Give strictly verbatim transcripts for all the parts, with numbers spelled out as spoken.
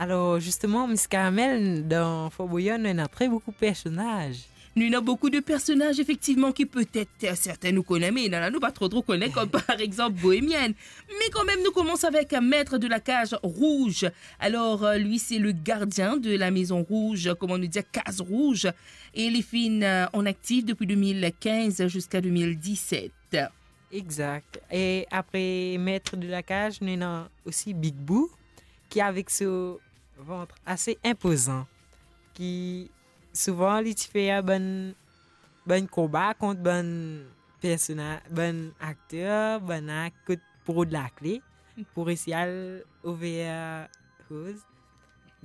Alors, justement, Miss Carmel, dans Fort Boyard, nou ena très beaucoup de personnages. Nou ena boukou de personaz, efektivman, ki petet, eh, serten nou kone, me ena la nou pa tro, tro kone, kom par exanp Bohémienne. Me kanmem, nou koumans avek Maître de la Cage Rouge. Alors, euh, lui, c'est le gardien de la Maison Rouge, kouma nou dir, Case Rouge. E li finn, euh, an aktif depi deux mille quinze jusqu'à deux mille dix-sept. Exact. E apre Maître de la Cage, nou ena osi Big Boo, ki avek so vant ase inpozan, ki souvan li ti fer bann, bann konba kont bann persona-, bann akter, bann ak-, kot pou rod lakle, pou resi al over koz.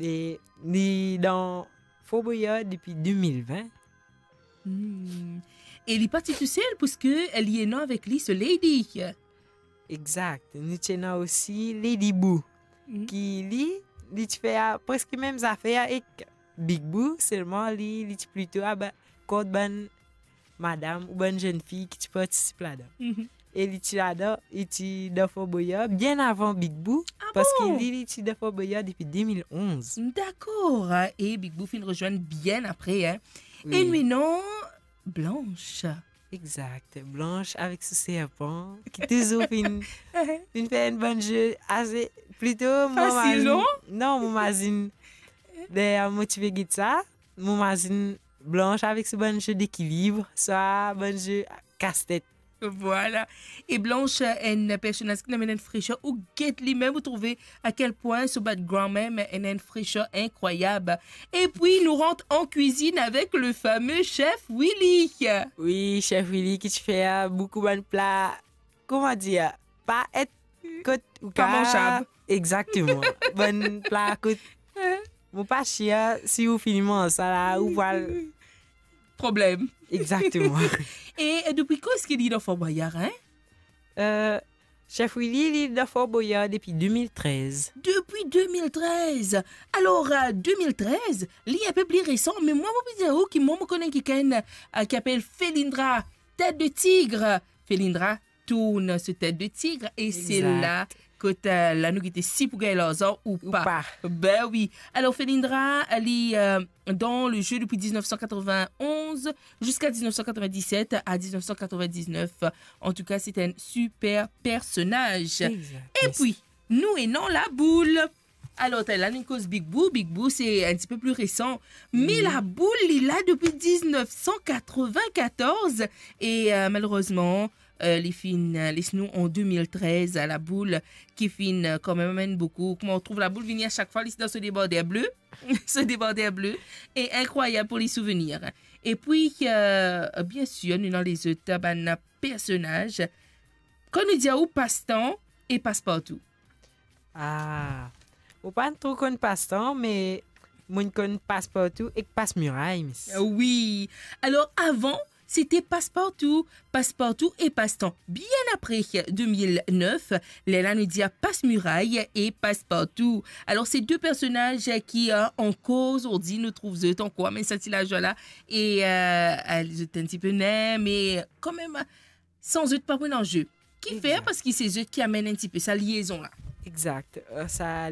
E li dan Fort Boyard depi deux mille vingt. Hmm. E li pa ti tousel, puiske li ena avek li so lady. Exact. Nou ti ena osi Lady Boo, Hmm. ki li, li ti fer preske mem zafer ek Big Boo, selman li, li ti plito aba-, kont bann madam ou bann zenn fi ki ti partisip ladan. Mhm. E li ti ladan, li ti dan Fort Boyard bien avan Big Boo, Ah paski bon? li, li ti dan Fort Boyard depi deux mille onze. Dakor, e Big Boo finn rezwenn bien apre, hein. E Wi. nou ena Blanche. Exact. Blanche avek so serpan, ki touzour finn, finn fer enn bann ze ase, plito, mo Fasil, mazinn, non? non, mo mazinn, deryer mo ti pe get sa, mo mazinn Blanche avek so bann ze dekilib, swa bann ze kastet. Vwala. E Blanche, enn personaz ki amenn enn fresher, ou get li mem, ou trouve a kel pwin so background mem ena enn fresher inkrwayab. E pi, nou rant an kwizinn avek le fame Chef Willy. Wi, Chef Willy ki ti fer boukou bann pla, kouma dir, pa et kot ou Pa ka manzab. Exactement. Bann pla kot, mo pa sir si ou fini manz sa la, ou pral Problem. Exactement. E, e depi kan eski li dan Fort Boyard, hein? Euh, Chef Willy, li dan Fort Boyard depi deux mille treize. Depi deux mille treize. Alor, euh, deux mille treize, li enpe pli resan, me mwa, mo pe dir ou ki mwa, mo kone kikenn, euh, ki apel Felindra, Tête de Tigre. Felindra tourn so Tête de Tigre, e se Exact. la kot, euh, la nou gete si pou gagn larzan ou Ou pa. pa. Ben wi. Alor, Felindra, li, euh, dans le jeu depuis dix-neuf cent quatre-vingt-onze jusqu'à dix-neuf cent quatre-vingt-dix-sept à dix-neuf cent quatre-vingt-dix-neuf. En tout cas, c'est un super personnage. Exact. E pi, nou ena Laboul. Alor, ta la, nou koz Big Boo. Big Boo, se enn ti pe pli resan. Me Mhm. Laboul, li la depi dix-neuf cent quatre-vingt-quatorze. E, euh, malerezman, euh, li finn, euh, les nou an deux mille treize, Laboul, ki finn, euh, kanmem amenn boukou. Kouma ou trouv Laboul vini a sak fwa, li dan so debarder ble. So debarder ble. E inkrwayab pou li souvenir. E pi, euh, bien sir, nou ena lezot bann personaz. Kan nou dir ou Pastan e Paspartou. Ah, mo pa tro konn Pastan, me mo konn Paspartou ek Pasmiray, mis. Ah wi. Alor, avan, se te Paspartou, Paspartou e Pastan. Bien apre deux mille neuf, lerla nou dir Pasmiray e Paspartou. Alor, se de personaz ki, euh, ankor zordi, nou trouv zot ankor, me sa ti lazwa la, e, euh, euh, zot enn ti pe ner, me kanmem, san zot pa pou ena ze. Ki fer, Exact. paski se zot ki amenn enn ti pe sa liezon la. Exact. Euh, sa